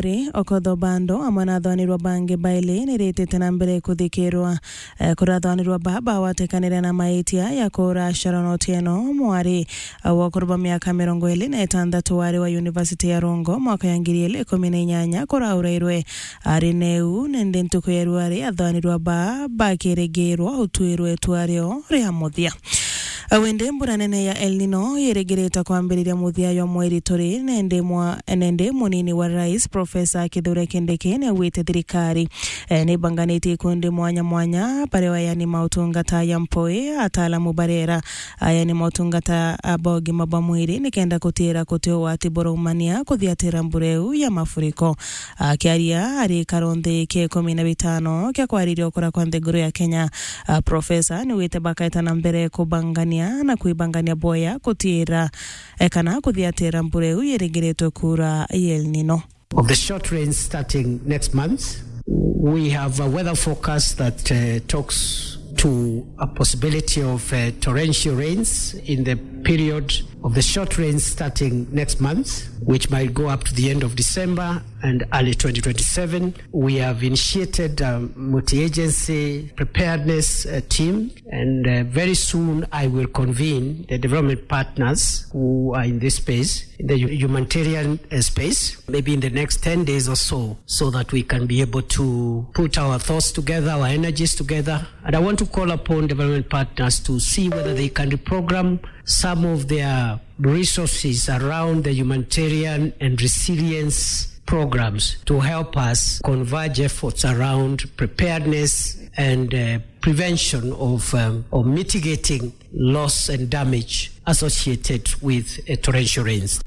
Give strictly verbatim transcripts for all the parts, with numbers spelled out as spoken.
Ri Okoth Obado amwe na athanirwa bangi baili niritite na mbere kuthikirwa. Eh, kuri athanirwa ba bawatekanire na maitia ya kuura Sharon Otieno, mwari, eh, wa ukuru bwa miaka mirongo iri na itantatu wari wa University ya Rongo mwaka ya ngiri igiri ikumi na inyanya kuraurairwe ari neu, nindi ntuku ya ruari athanirwa ba bakirigirwa utwirwe itua rio ria muthia. Wende mbura nene ya El Nino yirigirite kwambiriria muthia jwa mweri turi, nende mwa-, nende munini wa rais, Professor Kithure Kindiki, niaugite thirikari, eh, nibanganitie ikundi mwanya mwanya, baria ayani mautungata ya mpoi, ataalamu barera, ayani mautungata, ah, ba ugima bwa mwiri, nikenda kutira kuti ugwati buraumania kuthiatira mbura iu ya mafuriko. Akiaria ari ikaro nthi kia ikumi na bitano kia kwariria ukura kwa nthiguru ya Kenya, ah, Professor niwite bakaeta na mbere kubangania na kwibangania bwega kutira, eh, kana kuthiatira mbura iu yirigiritwe kuura ya El Nino. Of the short rains starting next month, we have a weather forecast that, uh, talks to a possibility of, uh, torrential rains in the period of the short rains starting next month, which might go up to the end of December and early twenty twenty-seven. We have initiated a multi-agency preparedness, uh, team, and, uh, very soon I will convene the development partners who are in this space, in the hu-, humanitarian, uh, space, maybe in the next ten days or so, so that we can be able to put our thoughts together, our energies together. And I want to call upon development partners to see whether they can reprogram some of their resources around the humanitarian and resilience programs to help us converge efforts around preparedness and, uh, prevention of, um, or mitigating loss and damage associated with, uh, torrential rains.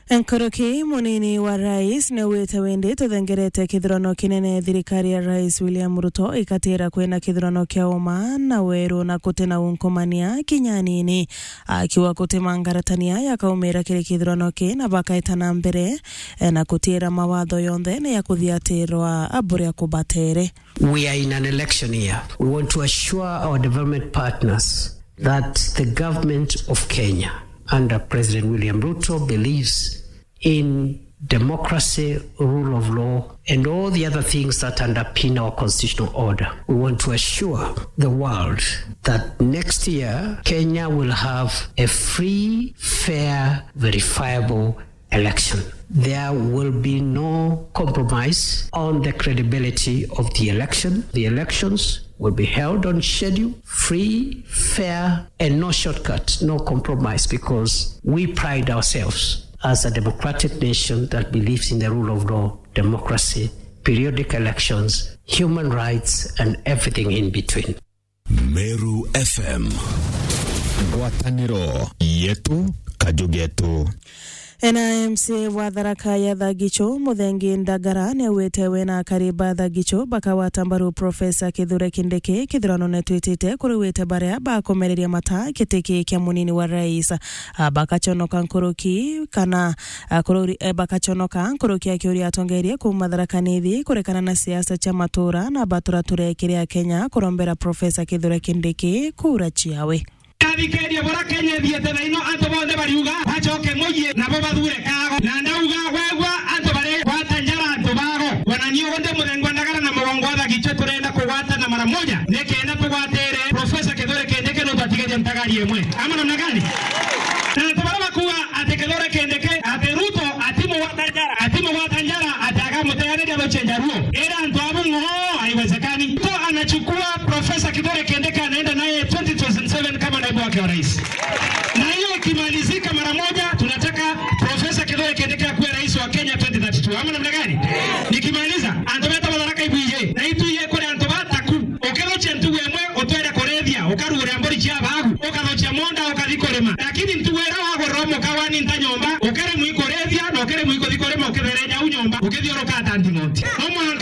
Nkoroki munini wa rais niwite windi tuthengerete kithurano kinene, thirikari ya Rais William Ruto ikatira kwina kithurano kia uma na weru na kutina unkumania kinya anini. Akiuga kuti mangaratania yakaumira kiri kithurano ki na bakaeta na mbere, eh, na kutira mawatho yonthe ni ya kuthiatirwa buria kubatere. We are in an election year. We want to assure our development partners that the government of Kenya under President William Ruto believes in democracy, rule of law, and all the other things that underpin our constitutional order. We want to assure the world that next year Kenya will have a free, fair, verifiable election. There will be no compromise on the credibility of the election. The elections will be held on schedule, free, fair, and no shortcut, no compromise, because we pride ourselves as a democratic nation that believes in the rule of law, democracy, periodic elections, human rights, and everything in between. Meru F M. Ngwataniro yetu, kaju getu. Ena M C A wa Tharaka ya Thagichu, Muthengi Ndagara, niaugite we na akari ba Thagichu bakawata mbaru Professor Kithure Kindiki kithurano netwitite, kuri wite baria bakomereria mata giti ki kia munini wa rais. Ah, bakachonoka nkuruki kana, ah, kururi-, eh, bakachonoka nkuruki akiuria atongeria kuuma Tharaka Nithi kurekana na siasa cia matura na batura turekire Akenya kurombera Professor Kithure Kindiki kura ciawe. Athikiriria, bura Kenya ithiite thaino, antu bonthe bariuga bacoke mucii nabo bathure Kago. Na ndauga, wegua antu bari gwata njara antu bago, wanani uguo ndi Muthengi wa Ndagara na Mugongo wa Thagichu turenda kugwatana mara moja nikenda tugwatire Professor Kithure Kindiki nontu atigeria ntagari imwe. Ama namna gani? Na antu baria bakuuga ati Kithure Kindiki, ati Ruto atimugwata njara, atimugwata njara, ati agamuteaniria ruchenja ruo. Ira antu abu ng'oo, haiwezekani. Ruto anachukua Professor Kithure Kindiki anaenda naye twenty twenty-seven kama naibu wake wa rais. Na hiyo ikimalizika mara moja, tunataka Professor Kithure Kindiki akuwe rais wa Kenya twenty thirty-two. Ama namna gani? Nikimaliza, antu betu ba Tharaka Nithi, na itu ye kuri antu bataku. Ukithukia ntugu imwe, utwere kurithia, ukaruguria mburi cia baagu, ukathukia munda, ukathi kurima. Lakini ntugu iria wagurira muka wani nta nyomba, ukiremwa ikurithia, na ukiremwa ikuthi kurima, ukithiria jau nyomba, ukithiuruka ta nding'oti. No mwanka